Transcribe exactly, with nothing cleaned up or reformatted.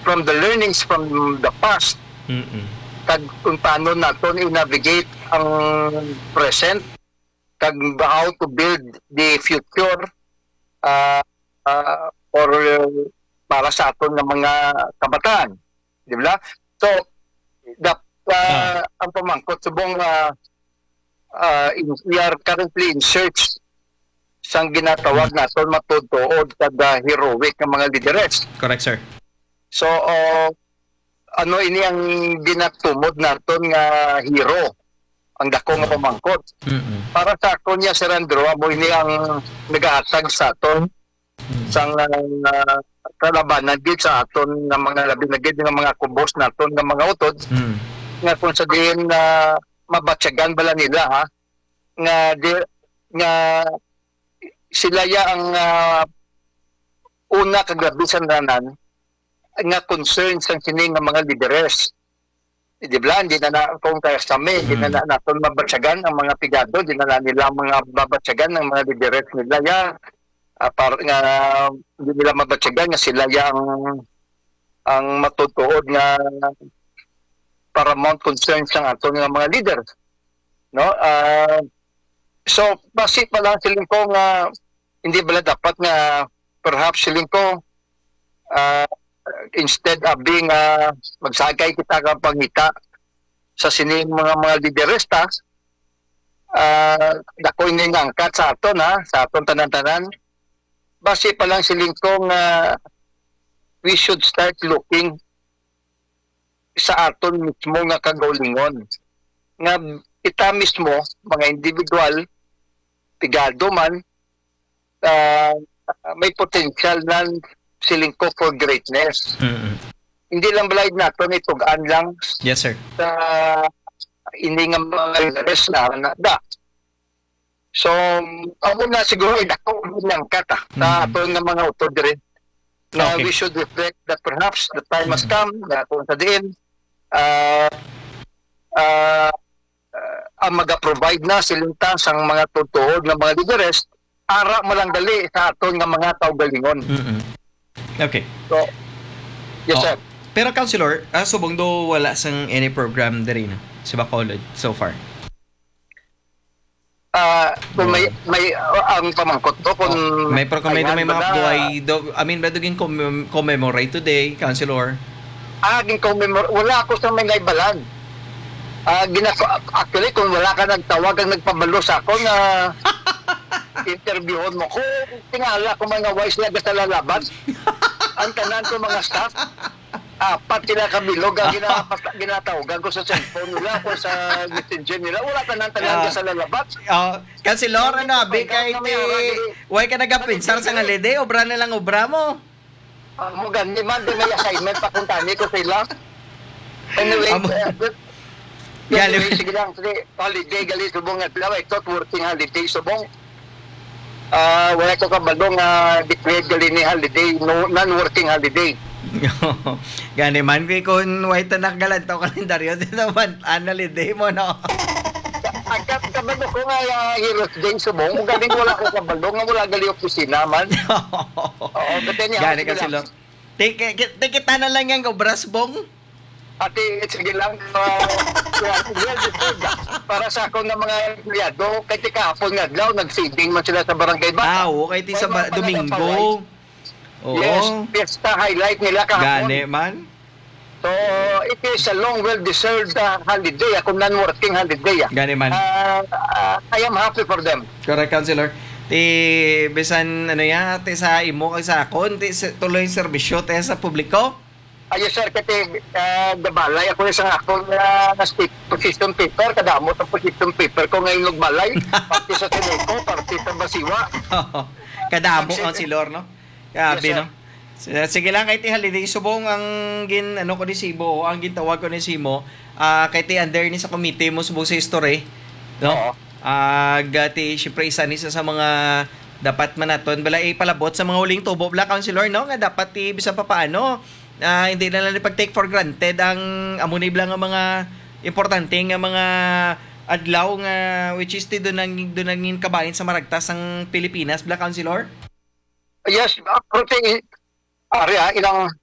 from the learnings from the past, Mm-mm. kag kung paano naton i-navigate ang present, kag how to build the future, ah, ah, for, uh, para sa aton nga mga kabataan, di ba? So, the, ah, Ah. ang pamangkot subong, ah, ah, in, we are currently in search sang ginatawag naton matuod-tuod kag, ah, heroic nga mga lideres. Correct, sir. So, ah, ano ini ang ginatumod naton nga hero? Ang dako nga Mm. pamangkot. Mm-mm. Para sa akon niya, Sir Andrew, amo ini ang nagahatag sa aton Mm. sang, ah, kalabanan gid sa aton nga mga, labi na gid nga mga kubos naton nga mga utod, Mm. nga kung sa diin, ah, mabatyagan bala nila, ha, nga di, nga sila ya ang, ah, una kag labi sa tanan nga concern sang sini nga mga lideres. Di ba, hindi na, na kung kaya sa amin, hindi na, Mm. na naton mabatyagan ang mga pigado, hindi na, na nila mga babatyagan ang mga lideres nila. Ya, ah, par-, nga hindi nila mabatyagan nga sila ya ang, ang matutuod nga paramount concern sang aton nga mga leader, no? Ah, so, basi pa lang siling ko nga hindi bala dapat nga perhaps siling ko, ah, instead of being, ah, magsagay kita ka pangita sa sining mga, mga lideresta, ah, dako ini nga angkat sa aton, ha, sa aton tanan-tanan. Basi pa lang siling ko nga we should start looking sa aton mismo nga kagaulingon, nga kita mismo, mga individual, pigado man, ah, may potential nan siling ko for greatness. Mm-mm. Hindi lang balay naton itugan lang Yes, sir. sa ini nga mga leaders na, na da. So, amo na siguro, eh, dako ang nangkat, ah, sa Mm. aton nga mga utod diri, na Okay. we should reflect that perhaps the time has Mm. come na kung sa diin, ah, ah, ah, ang maga-provide na siling ta sang mga tutuod nga mga lideres, ara mo lang dali sa aton nga mga kaugalingon. Mm-mm. Okay. So, yes, Oh. sir. Pero, Councilor, ah, subong do wala sang any program diri na sa Bacolod so far? Ah, kung may, Oo. may, ah, ang pamangkot ko, kung Oh, may pro-, kung may, kailan may ba mga na buhay do, I mean, ba do gin commem-, commemorate today, Councilor? Ah, gin-commemor-, wala ako sa may naibalan. Ah, ginako-, actually, kung wala ka nagtawag ang nagpabalo sa ako nga interviewon mo ko, tingala ko mga wise nga sa lalaban. Ang tanan ko mga staff, apat sila ka bilog ang Ah. ginapas-, ginatawgan ko sa cellphone nila o sa messenger nila. Wala tanan tanan Ah. sa lalabat. Oh, Councilor, Hindi ano, ko abi, pa kay ikaw na may ti, ara diri. Why ka nagapinsar sa Hindi. holiday? Obra na lang, obra mo. Ah, mo gani man, di may assignment pa kung tani ko sila. Anyway, Amo. uh, but, Galing. anyway, sige lang, sige. Holiday, gali, subong nga adlaw, I thought working holiday, subong. Ah, wala ko kabalo nga declared gali ni holiday, no, non-working holiday. Gani man, kay kung way tanak galantaw kalendaryo, di naman, annual day mo, no? Ang ka-, kabalo ko nga, ah, Heroes Day, subong. Kung galing wala ko kabalo nga wala gali opisina man. Oo, but then, Gani sige kasi lang. lo-, ti-, ki-, ki-, ti-, kita na lang yung obras, Bong. Ate, sige lang, ah, well, well deserved. Para sa akon nga mga empleyado, kay ti kahapon nga adlaw, nag-feeding man sila sa Barangay Bata. Ah, oo, kay ti May sa mga ba-, pala Domingo. nagpaway. Oo. Yes, fiesta highlight nila kahapon. Gani man. So, it is a long, well-deserved, ah, holiday, ako non-working holiday, ah. Gani man. Ah, ah, I am happy for them. Correct, Councilor. Ti, bisan, ano ya, ti sa imo kag sa akon, ti sa, tuloy serbisyo, ti sa publiko. Ah, yes, sir. Kasi, ah, gabalay ako sa akong, ah, state position paper. Kadamo ang position paper ko ngayon nagbalay. Parte sa Sineco, parte sa Basiwa. Kadamo Ang ang si-, silor, no? Grabe, Yes, sir. no? S-, sige lang, kay ti holiday subong ang gin-, ano ko ni Sibo, ang gintawag ko ni Simo, ah, kay ti under ni sa committee mo subong sa history, no? Oo. Ah, gati, syempre, isa ni sa, sa mga dapat man naton bala ipalabot sa mga huling tubo bala, Councilor, no? Nga dapat ti bisan pa paano, ah, hindi na lang pag-take for granted ang amo ni bala nga mga importante nga mga adlaw nga, which is ti doon ang, doon ang kabahin sa maragtas ang Pilipinas bala, Councilor? Yes, ah, pero ti, ari, ah, ilang